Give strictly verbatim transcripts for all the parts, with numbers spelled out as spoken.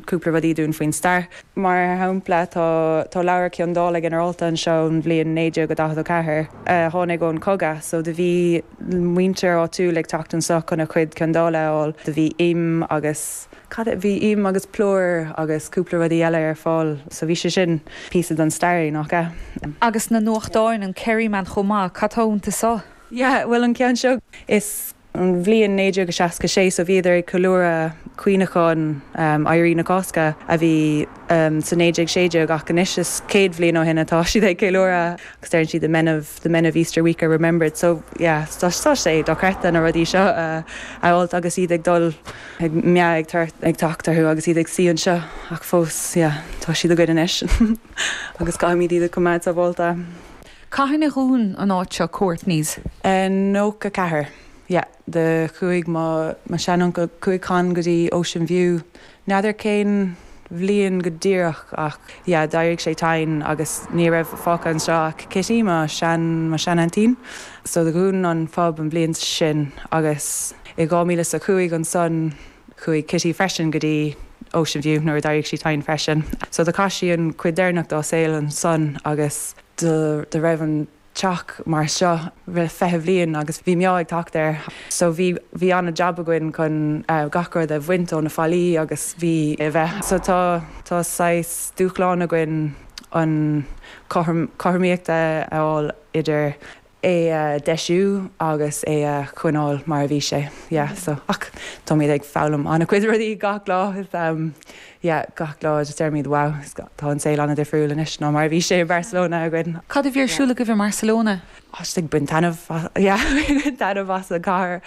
Cúpla rudaí dúinn faoin stair. Mar shampla tá tá leabhar ciondála ginearálta anseo ón bhliain naoi déag daichead a ceathair tháinig ón cogadh, so do bhí muintir áitiúil ag teacht anseo chun a chuid ciondála a fháil, do bhí im agus cad bhí im agus plúr agus cúpla rudaí eile ar fáil, so bhí sé sin píosa den stair nach ea. Agus na nuachtáin an Kerryman chomh maith cad tá iontu seo? Yeah, well an ceann seo is an bhliain naoi déag seasca sé so bhíodar ag ceiliúradh cuimhneachán um, Éirí na Cásca a bhí um, sa naoi déag sé déag ach anois is céad bliain ó shin atá siad ag ceiliúradh agus deir siad the men of the men of Easter Week are remembered so yeah, tá sé dochreidte na rudaí seo uh, a fháil agus iad ag dul ag meath ag tar ag teacht orthu agus iad ag suí anseo ach fós yeah, tá siad againn anois agus caithfimid iad a choimeád sábháilte. Cathain a dhún an áit seo Courtney's. Uh, nócha ceathair. Yeah, do chuaigh mo mo sheanuncail chuaigh Con go dtí Ocean View. N'fheadar cén bhliain go díreach ach yeah, d'éirigh sé tinn agus ní raibh fágtha anseo ach Kitty mo sean mo seanaintín. So do dhún an pub an bhliain sin agus i dhá mhíle a cúig ansan chuaigh Kitty freisin go dtí Ocean View nuair a d'éirigh sí tinn freisin. So do chaith sí an chuid deireanach dá saol ansan agus do do raibh an teach mar seo le fiche bliain agus bhí meath ag teacht air. So bhí bhí an-jab againn chun uh, gach rud a bhaint ó na fallaí agus bhí a bheith. So tá tá saghas dúshlán againn an cothromaíocht a fháil idir é a deisiú agus é a choinneáil mar a bhí sé. Yeah, so ach táimid ag foghlaim an-chuid rudaí gach lá um, yeah, gach lá just deirimid wow, tá an saol an-difriúil anois ná mar bhí sé i Barcelona againn. Cad a bhí ar siúl agaibh i Barcelona? ag baint taitneamh as an gcathair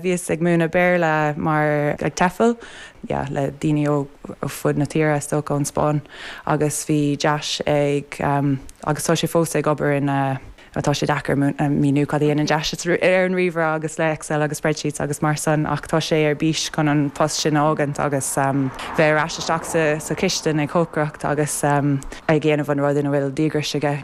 bhíos ag múineadh Béarla mar ag TEFL yeah, le daoine ó fud na tíre is ón Spáinn agus bhí Jash ag um, agus tá sé fós ag obair in uh, atá sé deacair míniú cad é an Jash ar an ríomhaire agus le Excel agus spreadsheets agus mar sin ach tá sé ar bís chun an post sin a fhágaint agus um, bheith ar ais isteach sa, sa chistin ag cócaireacht agus um, ag déanamh an rud ina bhfuil díograis aige.